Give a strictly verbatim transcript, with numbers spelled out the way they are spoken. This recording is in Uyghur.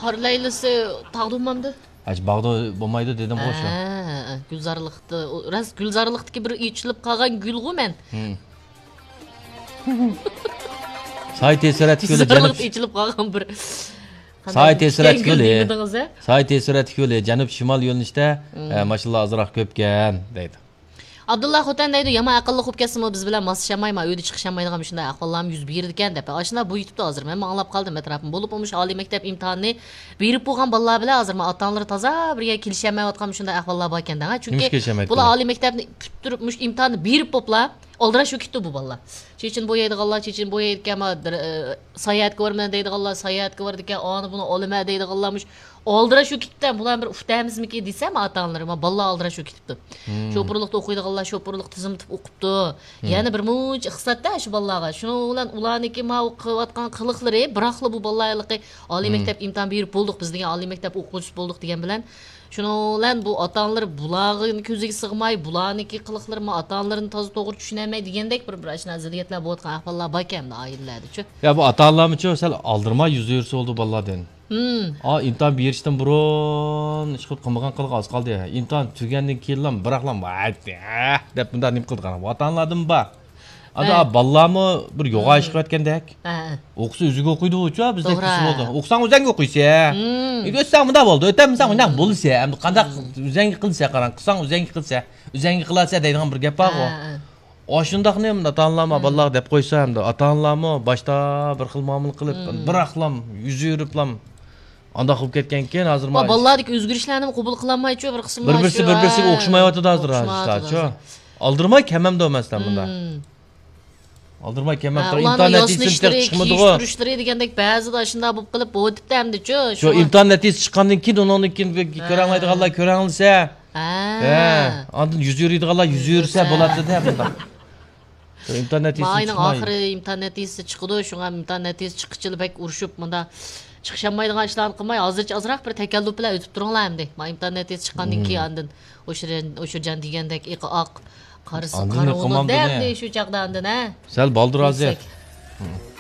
قار لەيلىسى تاغدا بولمامدۇ؟ ھەج باغدا بولمايدۇ دېدىمغۇ شۇ. ھە، گۈلزارلىقتا، ئۇ راست گۈلزارلىقتىكى بىر ئېچىلىپ قالغان گۈلغۇ مەن. ھىم. ساي تېسىرەتكۈلى جەنۇب. گۈلزارلىقتا ئېچىلىپ قالغان بىر. ساي تېسىرەتكۈلى. دېمىدىڭىز، ھە؟ ساي تېسىرەتكۈلى جەنۇب شىمال يۆنىلىشتە، ھىم. ئە، ماشىنىلار ئازراق كۆپكەن دەيدۇ. ئابدۇللا خوتەن دەيدۇ، يامان ئەقىللىق بولۇپ كەتسىمۇ، بىز بىلەن ماسلىشالمايما، ئۆيدە چىقىشالمايدىغان مۇشۇنداق ئەھۋاللارمۇ يۈز بېرىدىكەن دەپ. ئاشۇنداق بۇ يېتىپتۇ ھازىر. مەنمۇ ئاڭلاپ قالدىم ئەتراپىم. بولۇپمۇ مۇشۇ ئالىي مەكتەپ ئىمتىھانىنى بېرىپ بولغان بالىلار بىلەن ھازىر مانا ئاتا-ئانىلىرى تازا بىر يەرگە كېلىشەلمەيۋاتقان مۇشۇنداق ئەھۋاللار باركەن دەڭ. چۈنكى نېمىشقا كېلىشەلمەيدۇ بۇلار بۇلار؟ ئالىي مەكتەپنى پۈتتۈرۈپ، مۇشۇ ئىمتىھاننى بېرىپ بوپلا، ئالدىراش بولۇپ كېتىپتۇ بۇ بالىلار. چېچىن بويايدىغانلار چېچىنى بويايدىكەن، ما، دىر-، ئە، ساياھەتكە بارىمەن دەيدىغانلار ساياھەتكە بارىدىكەن، ئانى بۇنى ئالىمەن دەيدىغانلار مۇشۇ ئالدىراش بولۇپ كېتىپتۇ. بۇلارنى بىر ئۇتامىزمىكىن دېسەم، ئاتا-ئانىلىرى، ما، بالىلار ئالدىراش بولۇپ كېتىپتۇ. مم. شوپۇرلۇقتا ئوقۇيدىغانلار شوپۇرلۇقتا تىزىملىتىپ ئوقۇپتۇ. مم. يەنە بىر مۇنچە ئىقتىساد-دە شۇ بالىلارغا. شۇنىڭ بىلەن ئۇلارنىڭكى ماۋۇ قىلىۋاتقان قىلىقلىرى، بىراقلا بۇ بالىلار ھېلىقى ئالىي مم. مەكتەپ ئىمتىھان بېرىپ بولدۇق، بىز دېگەن ئالىي مەكتەپ ئوقۇغۇچىسى بولدۇق دېگەن بىلەن، شۇنىڭ بىلەن بۇ ئاتا-ئانىلىرى بۇلارنىڭ كۆزىگە سىغماي، بۇلارنىڭكى قىلىقلىرى، ما، ئاتا-ئانىلىرىنى تازا توغرا چۈشىنەلمەي دېگەندەك بىر، بىر ئاشۇنداق زىددىيەتلەر بولۇۋاتقان ئەھۋاللار باركەن ئائىلىلەردىچۇ. يا، بۇ ئاتا-ئانىلارمۇچۇ سەل ئالدىرىماي يۈز يۈرسە بولدى بالىلار دېدىم. ھىم. ئا، ئىمتىھان بېرىشتىن بۇرۇن ئىشقىلىپ قىلمىغان قىلىق ئاز قالدى. ئىمتىھان تۈگىگەندىن كېيىنلا بىراقلا، ۋاي، ھە، دەپ مۇنداق نېمە قىلىدىغان ئاتا-ئانىلاردىن بار. ئادا ھە. بالىلارمۇ بىر يوغان ھىم. ئىش قىلىۋەتكەندەك. ھە، ھە. ئوقۇسا ئۆزىگە ئوقۇيدۇ، چۇ، بىزدەك توغرا. كىشى بولدى. ئوقۇساڭ ئۆزەڭگە ئوقۇيسەن. ھىم. ئۆتسەڭ مۇنداق بولدى، ئۆتەلمىسەڭ مۇنداق ھىم. بولىسەن. ئەمدى قانداق ھىم. ئۆزەڭگە قىلىسەن، قاراڭ، قىلساڭ ئۆزەڭگە قىلىسەن، ئۆزەڭگە قىلىسەن دەيدىغان بىر گەپ بارغۇ. ھە، ھە. ئاشۇنداقنى ئاتا-ئانىلار ما ھىم. بالىلارغا دەپ قويسا، ئەمدى ئاتا-ئانىلارمۇ باشتا بىر خىل مۇئامىلە قىلىپ، ھىم. بىراقلام، يۈز يۈرۈپلام، ئانداق بولۇپ كەتكەنكىن، ھازىر ما-، بالىلار بالىلارنىڭكى ئۆزگىرىشلەرنىمۇ قوبۇل قىلالمايچۇ، بىر قىسىملار بىر-، بىرسى شۇ، بىر-، بىرسىگە ھە. ئوخشىمايۋاتىدۇ ھازىر، ئوخشىمايۋاتىدۇ ھازىر. ھازىر. ئالدىرىماي كەمەمدۇ مەسىلەن بۇنداق. ھىم. ئالدىرماي كەمەم، ھە، تۇر، ئۇلارنىڭ ئىمتىھان نەتىجىسى ياسىنىشلىرى، چىقمىدىغۇ. كىيىشتۈرۈشلىرى دېگەندەك بەزىدە ئاشۇنداق بولۇپ قېلىپ، بولۇۋېتىپتۇ ئەمدىچۇ. شۇ شۇڭا ئىمتىھان نەتىجىسى چىققاندىن كېيىن ئۇنىڭدىن كېيىن ھە. كۆرەلمەيدىغانلار كۆرەلىسە. ھە. ھە، ئاندىن يۈز يۈرىدىغانلار يۈز يۈرسە يۈرسە. بولاتتى-دە بۇنداق. ئىمتىھان نەتىجىسى ما ئاينىڭ چىقماي. ئاخىرى ئىمتىھان نەتىجىسى چىقىدۇ، شۇڭا ئىمتىھان نەتىجىسى چىققىچىلا بەك ئۇرۇشۇپ، مۇنداق چىقىشالمايدىغان ئىشلارنى قىلماي، ھازىرچە ئازراق بىر تەكەللۇپ بىلەن ئۆتۈپ تۇرۇڭلار ئەمدى. ما ئىمتىھان نەتىجىسى چىققاندىن مم. كېيىن ئاندىن ئوشۇر-، ئوشۇرجان دېگەندەك ئېقى ئاق، قارىسى ئاندىن قارا بولىدۇ-دە ئەمدى شۇ چاغدا ئاندىن، ھە؟ سەل بالدۇر ھازىر. يۈكسەك. مم.